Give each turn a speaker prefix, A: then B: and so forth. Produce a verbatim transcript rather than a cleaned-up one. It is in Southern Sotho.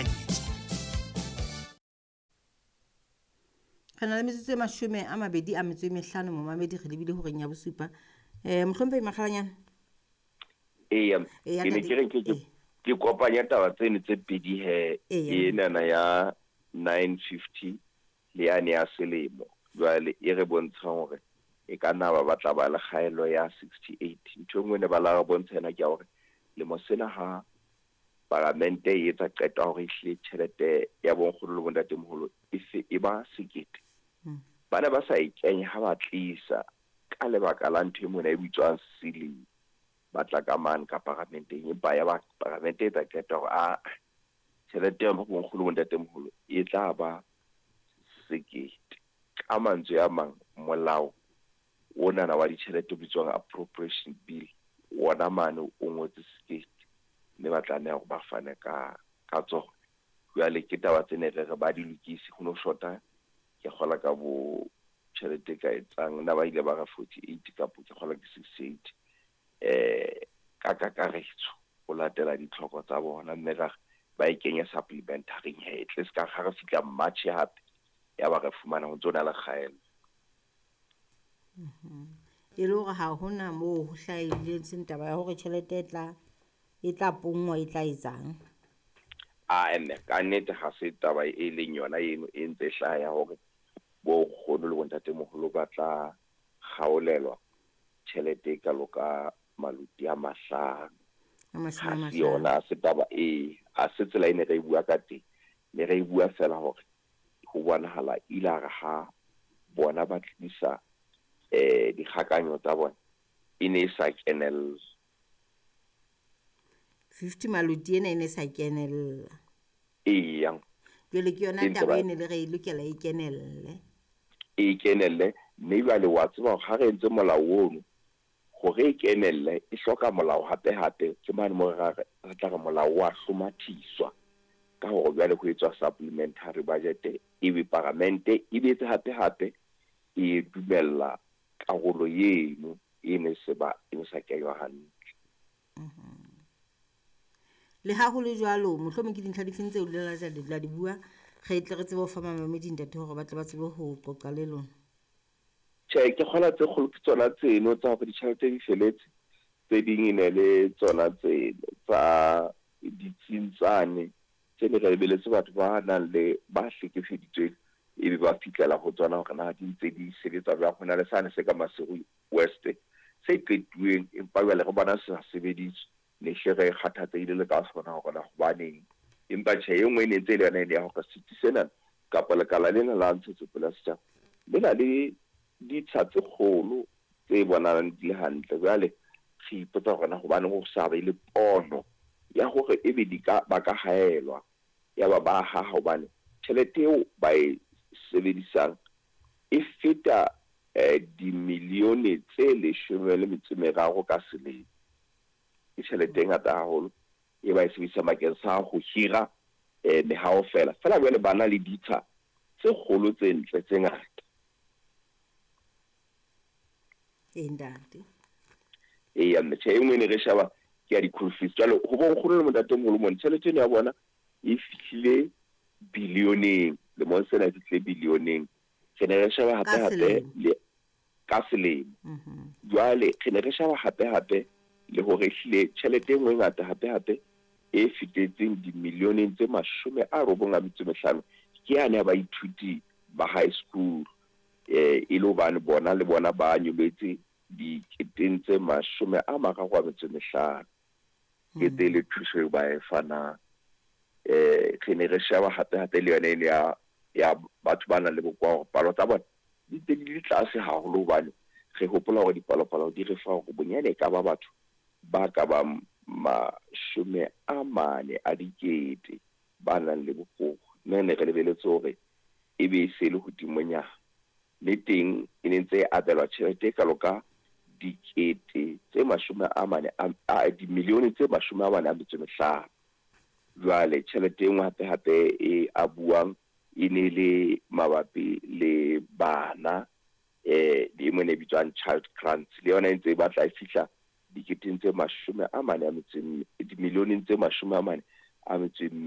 A: Ditekanyetso.
B: Re na le metsotso e mashome a mabedi a metso e mehlano, momamedi, re lebile horeng ya bosupa. um Mohlomphehi Makgalanyane.
C: Eya,
B: Eya,
C: ke ne
B: ntate.
C: ke re ke ke
B: Ee.
C: ke kopanya taba tseno tse pedi he.
B: Eya.
C: Enana ya nine fifty le yane ya selemo jwale e re bontshang hore e ka nna ba batla ba le kgaello ya sixty eight. Ntho e nngwe ne ba la re bontsha yona ke ya hore lemo sena ha paramente e etsa qeto ya hore ehlile tjhelete ya bonkgono le bontatemoholo e se e ba sekete,
B: Mm.
C: ba ne ba sa e kenya ha ba tlisa ka lebaka la ntho e mona e bitswang ceiling. Ba tla ka mane ka paramenteng, empa ya ba paramente e etsa qeto hore a tjhelete ya bonkgono le bontatemoholo e tla ba sekete. Ka mantswe a mang, molao onana wa ditjhelete o bitswang Appropriation Bill wona mane o ngotse sekete, mme ba tlameha hore ba fane ka ka tsona. Jwale ke taba tse ne re re ba di lokise, ho no shota ke kgola ka bo tjhelete e ka etsang nna ba ile ba re forty eight kapo ke kgola ke sixty eight eh ka kakaretso ho latela ditlhoko tsa bona, mme ra ba e kenye supplementary he tle se ka ga re fihla March hape ya ba re fumana ho ntso na le kgaello.
B: E le hore ha hona moo ho hlahileng seng taba ya hore tjhelete e tla e tla ponngwa e tla etsang.
C: A mme ka nnete ha se taba e leng yona eno e ntse e hlaha ya hore bo nkgono le bontatemoholo ba tla kgaolelwa tjhelete e kalo ka maluti a mahlano.
B: A mashome a
C: Ha se
B: mahlano.
C: yona, ha se taba e, ha se tsela e ne re e bua ka teng. Ne re e bua fela hore ho bonahala ile a re ha bona ba tlisa eh dikgakanyo tsa bona e ne e sa kenella.
B: fifty maluti ena e ne e sa kenella.
C: Eya.
B: Jwale ke yona
C: E ntse
B: taba
C: ba
B: e ne le re e lokela e kenelle.
C: E kenelle, mme jwale wa tseba hore ha re entse molao ono hore e kenelle e hloka molao hape hape, ke mane mo re re re tla re molao wa hlomathiswa ka hore jwale ho etswa supplementary budget, ebe paramente e betse hape hape e dumella karolo eno e ne se ba e ne sa kenywa hantle.
B: Le ha ho le jwalo, mohlomong ke dintlha difeng tseo le la la di bua, re tle re tsebe ho fa mamamedi ntate hore ba tle ba tsebe ho qoqa le lona.
C: Tjhe, ke kgola tse kgolo ke tsona tseno tsa hore ditjhelete di feletse, tse ding e ne le tsona tseno tsa ditsing tsane tse ne re lebeletse batho ba nang le ba hlekefeditsweng ebe ba fihlela ho tsona hore na di ntse di sebetsa jwang. Ho na le sane se ka Maseru West se qetuweng, empa jwale re bona se sa sebediswe, ne hle re kgathatsehile le ka sona hore na hobaneng. Empa tjhe, e nngwe e ne ntse e le yona ene ya hore setsi sena kapa lekala lena la Ntshetsopele ya Setjhaba le na le ditsha tse kgolo tse bonahalang di le hantle. Jwale re ipotsa hore na hobaneng ho sa be le pono ya hore ebe di ka ba ka haelwa ya ba ba haha, hobane tjhelete eo ba e sebedisang e feta eh dimilione tse leshome le metso e meraro ka selemo. Ke tjhelete e ngata haholo e ba e sebedisa bakeng sa ho hira eh mehaho fela. Fela jwale ba na le ditsha tse kgolo tse ntle tse ngata.
B: Ee, ntate.
C: Eya, mme tjhe, e nngwe e ne re sheba ke ya di-school fees. Jwale ho bonkgono le bontatemoholo mona tjhelete eno ya bona e fihlile bilioneng, lemong sena e fihlile bilioneng. Re ne re sheba hape
B: Ka
C: hape
B: selemo.
C: le ka selemo.
B: Mhm.
C: Jwale re ne re sheba hape hape le hore ehlile tjhelete e nngwe e ngata hape hape e fetetseng dimilioneng tse mashome a robong a metso e mehlano ke yane ya baithuti ba high school, eh e le hobane bona le bona ba nyolletse diketeng tse mashome a mararo a metso e mehlano. Ke tse le thuso eo ba e fanang. Eh re ne re sheba hape hape le yona eno ya ya batho ba nang le bokowa hore palo tsa bona di ntse di le tlase haholo, hobane re hopola hore dipalopalo di re fa hore bonyane e ka ba batho ba ka bang mashome a mane a dikete ba nang le bokowa. Mme ne re lebeletse hore ebe e se le hodimonyana, le teng e ne ntse e abelwa tjhelete e kalo ka dikete tse mashome a mane a, a dimilione tse mashome a mane a metso e mehlano. Jwale tjhelete e nngwe hape hape e abuwang e ne le mabapi le bana, eh e nngwe e ne e bitswang child grants, le yona e ntse e batla e fihla diketeng tse mashome a mane a metso e mme, dimilioneng tse mashome a mane a metso e mme.